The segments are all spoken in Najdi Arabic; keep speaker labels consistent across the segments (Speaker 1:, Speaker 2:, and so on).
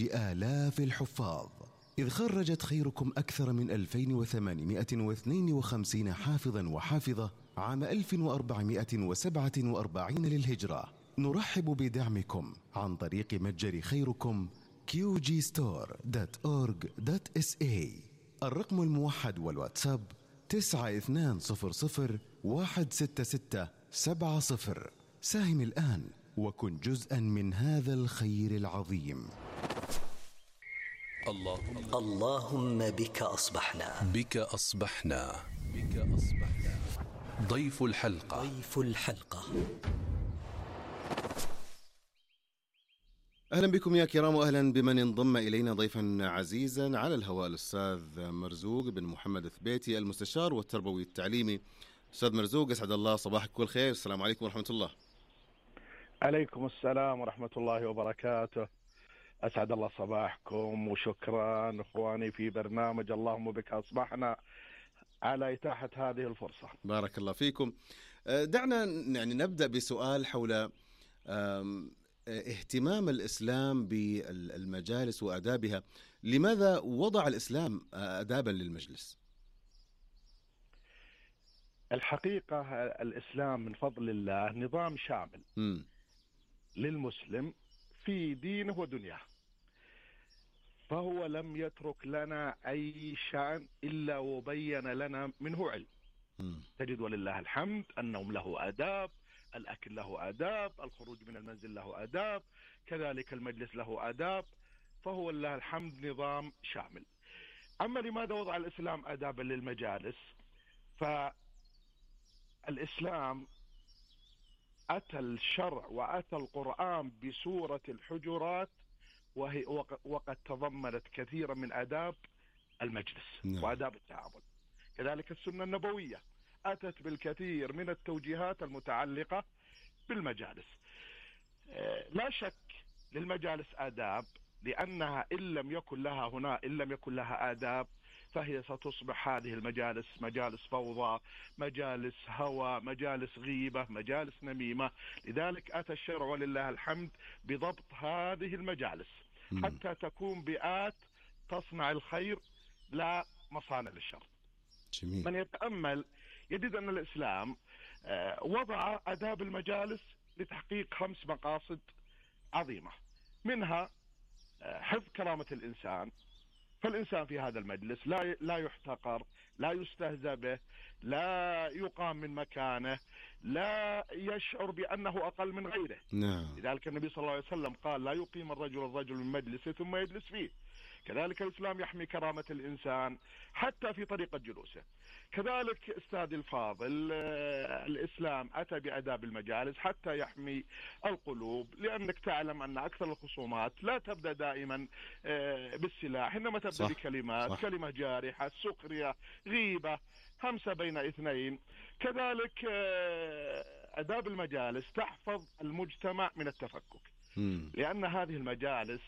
Speaker 1: آلاف الحفاظ، إذ خرجت خيركم أكثر من 2852 حافظا وحافظة عام 1447 للهجرة. نرحب بدعمكم عن طريق متجر خيركم qgstore.org.sa. الرقم الموحد والواتساب 9200166770. ساهم الآن وكن جزءا من هذا الخير العظيم.
Speaker 2: اللهم بك أصبحنا،
Speaker 3: بك أصبحنا، بك أصبحنا. ضيف الحلقة،
Speaker 2: ضيف الحلقة.
Speaker 1: أهلا بكم يا كرام، وأهلا بمن انضم إلينا ضيفا عزيزا على الهواء، الأستاذ مرزوق بن محمد الثبيتي، المستشار والتربوي التعليمي. أستاذ مرزوق، أسعد الله صباحك كل خير. السلام عليكم ورحمة الله.
Speaker 4: عليكم السلام ورحمة الله وبركاته. أسعد الله صباحكم، وشكرا إخواني في برنامج اللهم بك أصبحنا على إتاحة هذه الفرصة.
Speaker 1: بارك الله فيكم. دعنا يعني نبدأ بسؤال حول اهتمام الإسلام بالمجالس وآدابها. لماذا وضع الإسلام آدابا للمجلس؟
Speaker 4: الحقيقة الإسلام من فضل الله نظام شامل للمسلم في دينه ودنياه، فهو لم يترك لنا أي شأن إلا وبين لنا منه علم. تجد ولله الحمد النوم له آداب، الأكل له آداب، الخروج من المنزل له آداب، كذلك المجلس له آداب، فهو لله الحمد نظام شامل. أما لماذا وضع الإسلام آدابا للمجالس؟ فالإسلام أتى الشرع وأتى القرآن بسورة الحجرات، وقد تضمنت كثيرا من آداب المجلس وآداب التعامل. كذلك السنة النبوية أتت بالكثير من التوجيهات المتعلقة بالمجالس. لا شك للمجالس آداب، لأنها إن لم يكن لها آداب فهي ستصبح هذه المجالس مجالس فوضى، مجالس هوى، مجالس غيبة، مجالس نميمة. لذلك أتى الشرع ولله الحمد بضبط هذه المجالس حتى تكون بيئات تصنع الخير لا مصانع للشر.
Speaker 1: جميل.
Speaker 4: من يتأمل يجد أن الإسلام وضع آداب المجالس لتحقيق 5 مقاصد عظيمة، منها حفظ كرامة الإنسان، فالإنسان في هذا المجلس لا يحتقر، لا يستهزأ به، لا يقام من مكانه، لا يشعر بأنه أقل من غيره.
Speaker 1: نعم.
Speaker 4: لذلك النبي صلى الله عليه وسلم قال: لا يقيم الرجل من مجلسه ثم يجلس فيه. كذلك الإسلام يحمي كرامة الإنسان حتى في طريقة جلوسه. كذلك أستاذ الفاضل، الإسلام أتى بآداب المجالس حتى يحمي القلوب، لأنك تعلم أن أكثر الخصومات لا تبدأ دائما بالسلاح، إنما تبدأ بكلمات، كلمة جارحة، سخرية، غيبة، همسة بين اثنين. كذلك آداب المجالس تحفظ المجتمع من التفكك، لأن هذه المجالس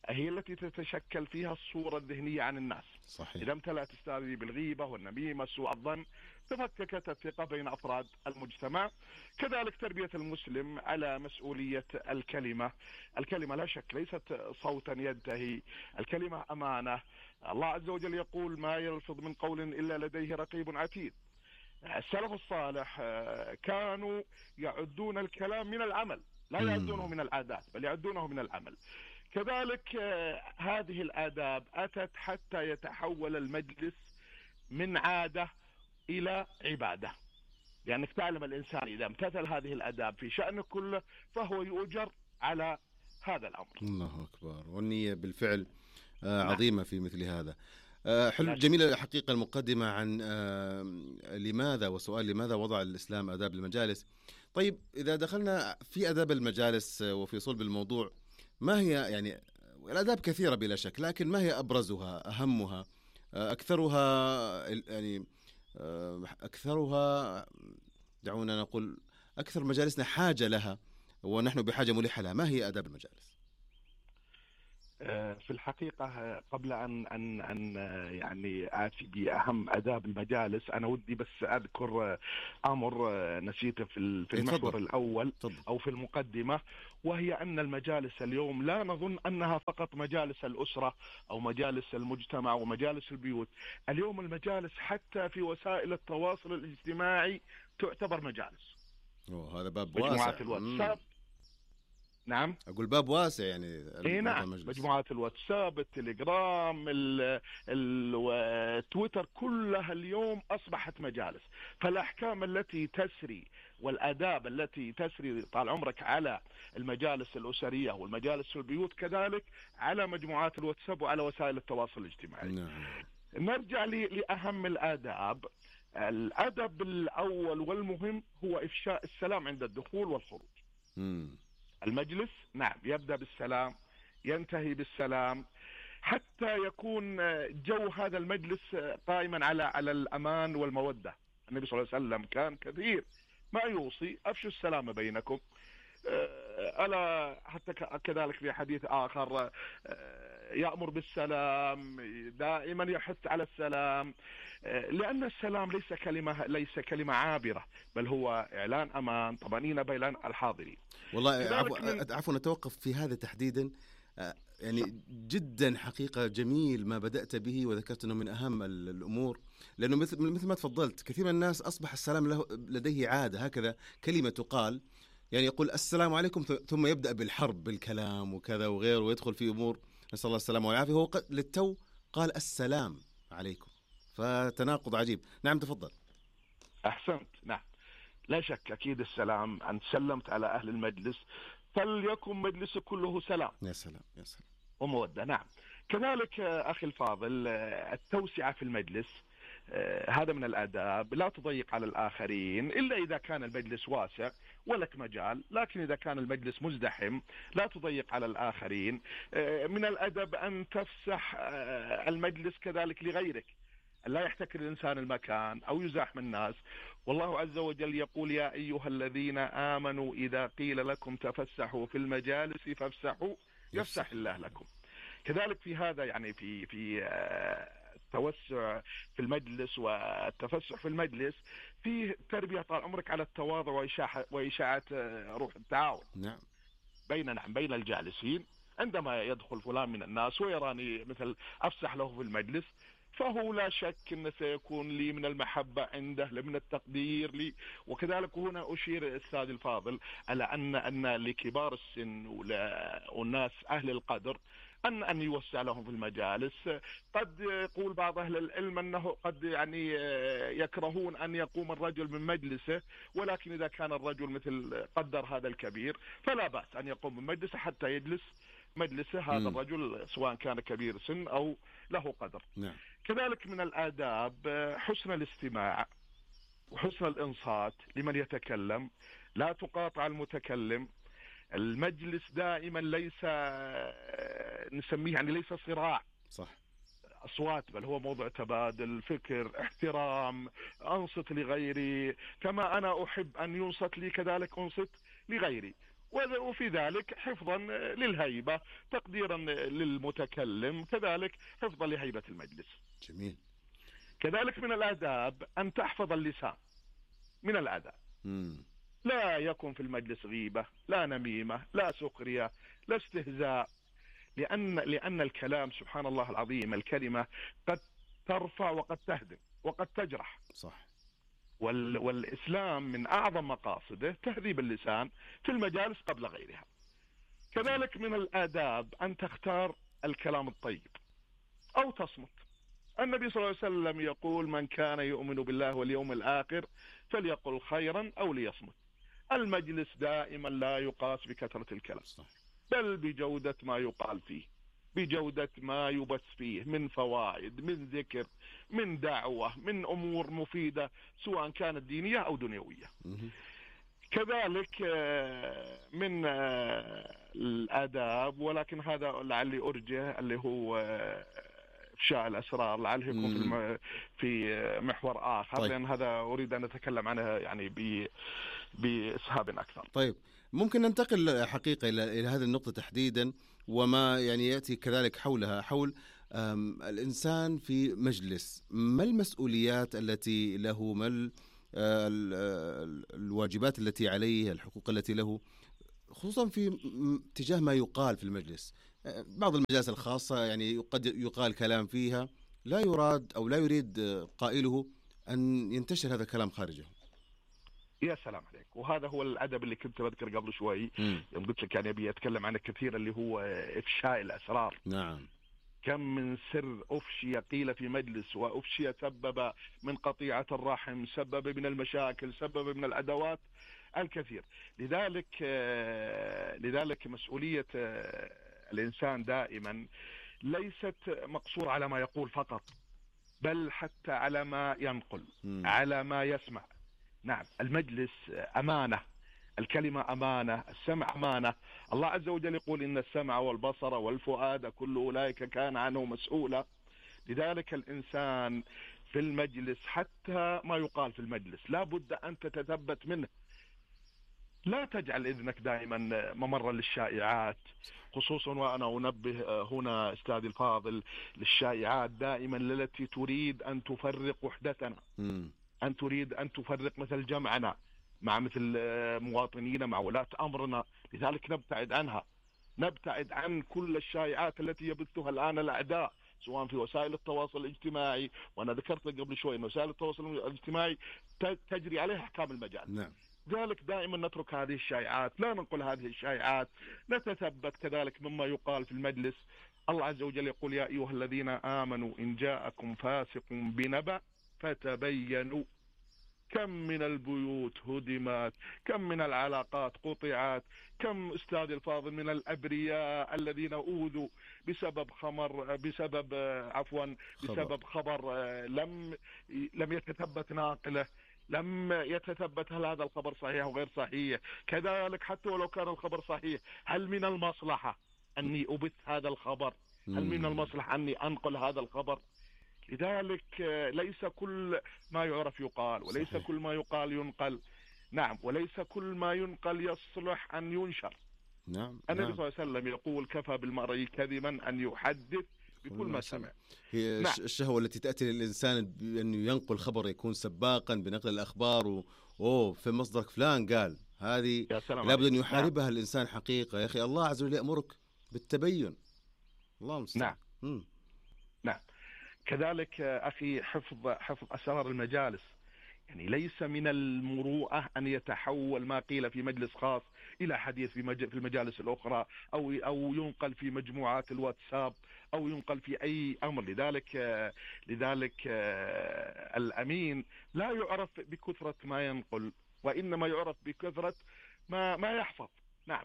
Speaker 4: هي التي تتشكل فيها الصورة الذهنية عن الناس.
Speaker 1: صحيح.
Speaker 4: إذا امتلأت استاذي بالغيبة والنميمة سوء الظن تفككت الثقة بين أفراد المجتمع. كذلك تربية المسلم على مسؤولية الكلمة. الكلمة لا شك ليست صوتا ينتهي، الكلمة أمانة. الله عز وجل يقول: ما يلفظ من قول إلا لديه رقيب عتيد. السلف الصالح كانوا يعدون الكلام من العمل، لا يعدونه من العادات بل يعدونه من العمل. كذلك هذه الآداب أتت حتى يتحول المجلس من عادة إلى عبادة، لأنك تعلم الإنسان إذا امتثل هذه الآداب في شأنه كله فهو يؤجر على هذا الأمر.
Speaker 1: الله أكبر. والنية بالفعل عظيمة في مثل هذا. حلو، جميلة حقيقة المقدمة عن لماذا، وسؤال لماذا وضع الإسلام آداب المجالس. طيب، إذا دخلنا في آداب المجالس وفي صلب الموضوع، ما هي يعني الآداب كثيرة بلا شك، لكن ما هي أبرزها، أهمها، أكثرها دعونا نقول أكثر مجالسنا حاجة لها ونحن بحاجة ملحة لها؟ ما هي آداب المجالس؟
Speaker 4: في الحقيقة قبل أن يعني آتي بأهم آداب المجالس، أنا ودي بس أذكر أمر نسيته في المحور الأول أو في المقدمة، وهي أن المجالس اليوم لا نظن أنها فقط مجالس الأسرة أو مجالس المجتمع ومجالس البيوت. اليوم المجالس حتى في وسائل التواصل الاجتماعي تعتبر مجالس.
Speaker 1: هذا باب
Speaker 4: واسع.
Speaker 1: مجموعات
Speaker 4: الواتساب. نعم،
Speaker 1: أقول باب واسع يعني.
Speaker 4: نعم، مجموعات الواتساب، التليجرام، تويتر، كلها اليوم أصبحت مجالس. فالأحكام التي تسري والآداب التي تسري طال عمرك على المجالس الأسرية والمجالس في البيوت كذلك على مجموعات الواتساب وعلى وسائل التواصل الاجتماعي.
Speaker 1: نعم.
Speaker 4: نرجع لأهم الآداب. الأدب الأول والمهم هو إفشاء السلام عند الدخول والخروج. المجلس نعم يبدأ بالسلام، ينتهي بالسلام، حتى يكون جو هذا المجلس قائما على الأمان والمودة. النبي صلى الله عليه وسلم كان كثير ما يوصي أفشوا السلام بينكم. ألا حتى كذلك في حديث آخر يأمر بالسلام، دائما يحث على السلام، لأن السلام ليس كلمة عابرة، بل هو إعلان أمان، طمأنينة بين الحاضرين.
Speaker 1: والله عفوا نتوقف في هذا تحديدا. يعني جدا حقيقة جميل ما بدأت به وذكرت أنه من أهم الأمور، لأنه مثل ما تفضلت كثير من الناس أصبح السلام لديه عادة، هكذا كلمة تقال، يعني يقول السلام عليكم ثم يبدأ بالحرب بالكلام وكذا وغيره ويدخل في أمور نسأل الله السلامة والعافية. هو للتو قال السلام عليكم، فتناقض عجيب. نعم تفضل.
Speaker 4: أحسنت. نعم لا شك أكيد السلام، أن سلمت على أهل المجلس فليكن مجلس كله سلام.
Speaker 1: يا سلام يا سلام
Speaker 4: ومودة. نعم كذلك أخي الفاضل التوسعة في المجلس، هذا من الآداب. لا تضيق على الآخرين إلا إذا كان المجلس واسع ولك مجال، لكن إذا كان المجلس مزدحم لا تضيق على الآخرين. من الأدب أن تفسح المجلس كذلك لغيرك، لا يحتكر الإنسان المكان أو يزاحم الناس. والله عز وجل يقول يا أيها الذين آمنوا إذا قيل لكم تفسحوا في المجالس فافسحوا يفسح الله لكم. كذلك في هذا يعني في التوسع في المجلس والتفسح في المجلس فيه تربية طال عمرك على التواضع وإشاعة روح التعاون.
Speaker 1: نعم.
Speaker 4: بين الجالسين. عندما يدخل فلان من الناس ويراني مثل أفسح له في المجلس، فهو لا شك أنه سيكون لي من المحبة عنده، من التقدير لي. وكذلك هنا أشير أستاذ الفاضل على أن لكبار السن والناس أهل القدر أن يوسع لهم في المجالس. قد يقول بعض أهل العلم أنه قد يعني يكرهون أن يقوم الرجل من مجلسه، ولكن إذا كان الرجل مثل قدر هذا الكبير فلا بأس أن يقوم من مجلسه حتى يجلس مجلسه هذا الرجل سواء كان كبير سن أو له قدر.
Speaker 1: نعم.
Speaker 4: كذلك من الآداب حسن الاستماع وحسن الإنصات لمن يتكلم، لا تقاطع المتكلم. المجلس دائما ليس نسميه يعني ليس صراع
Speaker 1: صح
Speaker 4: أصوات، بل هو موضوع تبادل فكر، احترام، أنصت لغيري كما أنا أحب أن ينصت لي كذلك أنصت لغيري، وفي ذلك حفظا للهيبة، تقديرا للمتكلم، كذلك حفظا لهيبة المجلس.
Speaker 1: جميل.
Speaker 4: كذلك من الآداب أن تحفظ اللسان. من الآداب لا يكن في المجلس غيبة، لا نميمة، لا سخرية، لا استهزاء، لأن الكلام سبحان الله العظيم الكلمة قد ترفع وقد تهدم وقد تجرح.
Speaker 1: صح.
Speaker 4: والإسلام من أعظم مقاصده تهذيب اللسان في المجالس قبل غيرها. كذلك من الآداب أن تختار الكلام الطيب أو تصمت. النبي صلى الله عليه وسلم يقول من كان يؤمن بالله واليوم الآخر فليقل خيرا أو ليصمت. المجلس دائما لا يقاس بكثرة الكلام، بل بجودة ما يقال فيه، بجودة ما يبث فيه من فوائد، من ذكر، من دعوة، من أمور مفيدة سواء كانت دينية أو دنيوية. كذلك من الآداب، ولكن هذا لعلي أرجه اللي هو إفشاء الأسرار، لعله يكون في محور آخر. طيب. لأن هذا أريد أن أتكلم عنه يعني بإسهاب أكثر.
Speaker 1: طيب ممكن ننتقل حقيقة إلى هذه النقطة تحديدا، وما يعني يأتي كذلك حولها، حول الإنسان في مجلس، ما المسؤوليات التي له، ما الواجبات التي عليه، الحقوق التي له، خصوصا في تجاه ما يقال في المجلس. بعض المجالس الخاصة يعني قد يقال كلام فيها لا يراد أو لا يريد قائله أن ينتشر هذا الكلام خارجه.
Speaker 4: يا سلام عليك، وهذا هو الأدب اللي كنت بذكر قبل شوي يوم قلت لك يعني أبي أتكلم عنه كثير، اللي هو إفشاء الأسرار.
Speaker 1: نعم.
Speaker 4: كم من سر أفشي قيل في مجلس، وأفشي سبب من قطيعة الرحم، سبب من المشاكل، سبب من العداوات الكثير. لذلك مسؤولية الإنسان دائما ليست مقصورة على ما يقول فقط، بل حتى على ما ينقل، على ما يسمع. نعم، المجلس أمانة، الكلمة أمانة، السمع أمانة. الله عز وجل يقول إن السمع والبصر والفؤاد كل أولئك كان عنه مسؤولا. لذلك الإنسان في المجلس حتى ما يقال في المجلس لا بد أن تتثبت منه. لا تجعل إذنك دائما ممرا للشائعات، خصوصا وأنا أنبه هنا أستاذي الفاضل للشائعات دائما التي تريد أن تفرق وحدتنا، أن تريد أن تفرق مثل جمعنا مع مثل مواطنينا، مع ولاة أمرنا. لذلك نبتعد عنها، نبتعد عن كل الشائعات التي يبثها الآن الأعداء، سواء في وسائل التواصل الاجتماعي. وأنا ذكرت لك قبل شوي أن وسائل التواصل الاجتماعي تجري عليها أحكام المجال.
Speaker 1: نعم.
Speaker 4: ذلك دائما نترك هذه الشائعات، لا ننقل هذه الشائعات، نتثبت كذلك مما يقال في المجلس. الله عز وجل يقول يا أيها الذين آمنوا إن جاءكم فاسق بنبأ فتبينوا. كم من البيوت هدمت، كم من العلاقات قطعت، كم أستاذ الفاضل من الأبرياء الذين أوذوا بسبب بسبب خبر لم يتثبت ناقله، لم يتثبت هل هذا الخبر صحيح أو غير صحيح. كذلك حتى ولو كان الخبر صحيح، هل من المصلحة أني أبث هذا الخبر؟ هل من المصلحة أني أنقل هذا الخبر؟ لذلك ليس كل ما يعرف يقال، وليس صحيح. كل ما يقال ينقل. نعم، وليس كل ما ينقل يصلح أن ينشر.
Speaker 1: نعم.
Speaker 4: النبي صلى الله عليه وسلم يقول كفى بالمرء كذبا أن يحدث بكل ما سمع.
Speaker 1: هي نعم. الشهوة التي تأتي للإنسان بأنه ينقل خبر، يكون سباقا بنقل الأخبار في مصدرك فلان قال، هذه لابد أن يحاربها. نعم. الإنسان حقيقة يا أخي، الله عز وجل يأمرك بالتبين. الله المستعان.
Speaker 4: نعم. كذلك أخي حفظ أسرار المجالس، يعني ليس من المروءة أن يتحول ما قيل في مجلس خاص إلى حديث في المجالس الأخرى، أو ينقل في مجموعات الواتساب، أو ينقل في أي أمر. لذلك الأمين لا يعرف بكثرة ما ينقل، وإنما يعرف بكثرة ما يحفظ. نعم،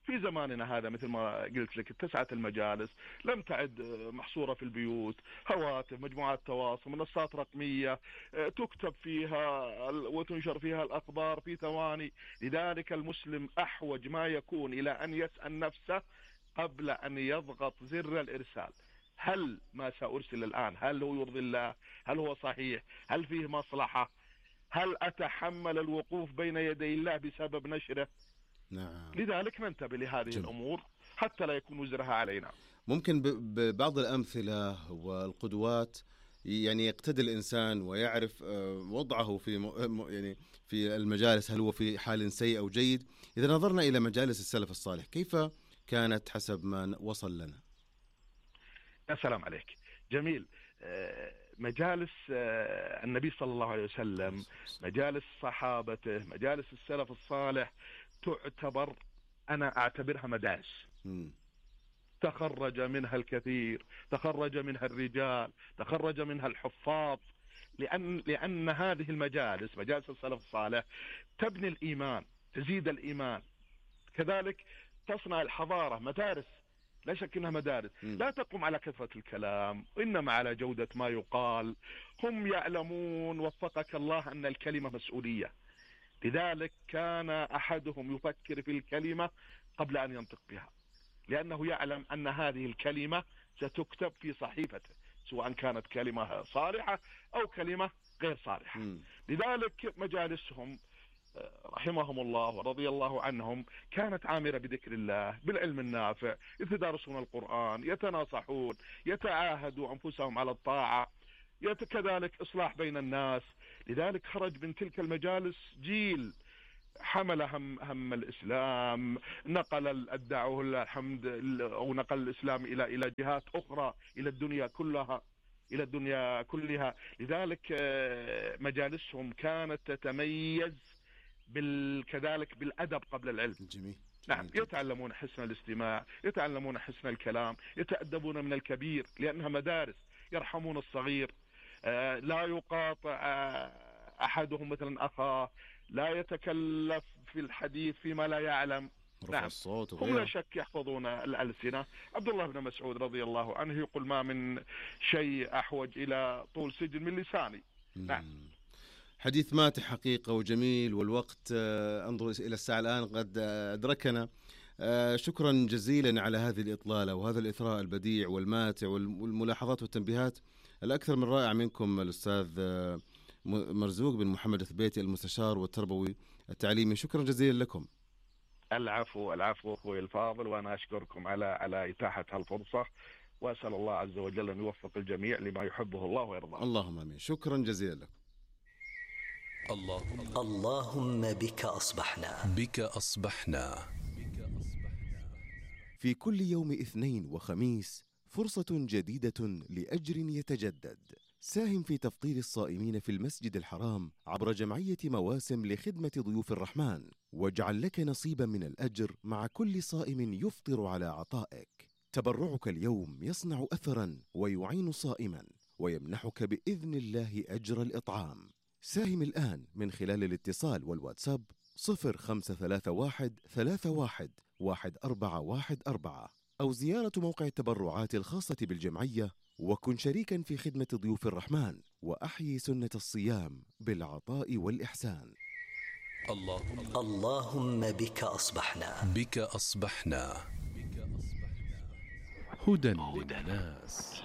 Speaker 4: في زماننا هذا مثل ما قلت لك اتسعت المجالس، لم تعد محصورة في البيوت، هواتف، مجموعات تواصل، منصات رقمية تكتب فيها وتنشر فيها الأخبار في ثواني. لذلك المسلم أحوج ما يكون إلى أن يسأل نفسه قبل أن يضغط زر الإرسال: هل ما سأرسل الآن هل هو يرضي الله؟ هل هو صحيح؟ هل فيه مصلحة؟ هل أتحمل الوقوف بين يدي الله بسبب نشره؟
Speaker 1: نعم.
Speaker 4: لذلك ننتبه لهذه الأمور حتى لا يكون وزرها علينا.
Speaker 1: ممكن ببعض الأمثلة والقدوات يعني يقتدي الإنسان ويعرف وضعه في يعني في المجالس، هل هو في حال سيء أو جيد. إذا نظرنا إلى مجالس السلف الصالح كيف كانت حسب ما وصل لنا؟
Speaker 4: يا سلام عليك، جميل. مجالس النبي صلى الله عليه وسلم، مجالس صحابته، مجالس السلف الصالح تعتبر، أنا أعتبرها مدارس. تخرج منها الكثير، تخرج منها الرجال، تخرج منها الحفاظ، لأن هذه المجالس، مجالس السلف الصالح، تبني الإيمان، تزيد الإيمان، كذلك تصنع الحضارة. مدارس، لا شك أنها مدارس لا تقوم على كثرة الكلام، إنما على جودة ما يقال. هم يعلمون وفقك الله أن الكلمة مسؤولية، لذلك كان أحدهم يفكر في الكلمة قبل أن ينطق بها، لأنه يعلم أن هذه الكلمة ستكتب في صحيفته، سواء كانت كلمة صالحة أو كلمة غير صالحة. لذلك مجالسهم رحمهم الله ورضي الله عنهم كانت عامرة بذكر الله، بالعلم النافع، يتدارسون القرآن، يتناصحون، يتعاهدوا أنفسهم على الطاعة، كذلك إصلاح بين الناس. لذلك خرج من تلك المجالس جيل حمل هم الإسلام، نقل الدعوة الحمد، أو نقل الإسلام إلى جهات أخرى، إلى الدنيا كلها. لذلك مجالسهم كانت تتميز كذلك بالأدب قبل العلم.
Speaker 1: جميل.
Speaker 4: نعم، يتعلمون حسن الاستماع، يتعلمون حسن الكلام، يتأدبون من الكبير لأنها مدارس، يرحمون الصغير، لا يقاطع أحدهم مثلا أخاه، لا يتكلف في الحديث فيما لا يعلم. نعم، هم لا شك يحفظون الألسنة. عبد الله بن مسعود رضي الله عنه يقول: ما من شيء أحوج إلى طول سجن من لساني. نعم.
Speaker 1: حديث ماتح حقيقة وجميل، والوقت انظر إلى الساعة الآن قد أدركنا. شكرا جزيلا على هذه الإطلالة وهذا الإثراء البديع والماتع والملاحظات والتنبيهات الأكثر من رائع منكم الأستاذ مرزوق بن محمد الثبيتي، المستشار والتربوي التعليمي. شكرا جزيلا لكم.
Speaker 4: العفو أخوي الفاضل، وأنا أشكركم على إتاحة هالفرصة، وأسأل الله عز وجل أن يوفق الجميع لما يحبه الله ويرضاه.
Speaker 1: اللهم آمين. شكرا جزيلا لك.
Speaker 2: اللهم بك أصبحنا.
Speaker 3: بك أصبحنا.
Speaker 5: في كل يوم اثنين وخميس فرصة جديدة لأجر يتجدد. ساهم في تفطير الصائمين في المسجد الحرام عبر جمعية مواسم لخدمة ضيوف الرحمن، واجعل لك نصيبا من الأجر مع كل صائم يفطر على عطائك. تبرعك اليوم يصنع أثرا ويعين صائما ويمنحك بإذن الله أجر الإطعام. ساهم الآن من خلال الاتصال والواتساب 0531 31 1414 أو زيارة موقع التبرعات الخاصة بالجمعية، وكن شريكا في خدمة ضيوف الرحمن وأحيي سنة الصيام بالعطاء والإحسان.
Speaker 2: اللهم بك أصبحنا.
Speaker 3: بك أصبحنا. هدى للناس.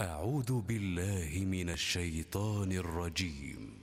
Speaker 5: أعوذ بالله من الشيطان الرجيم.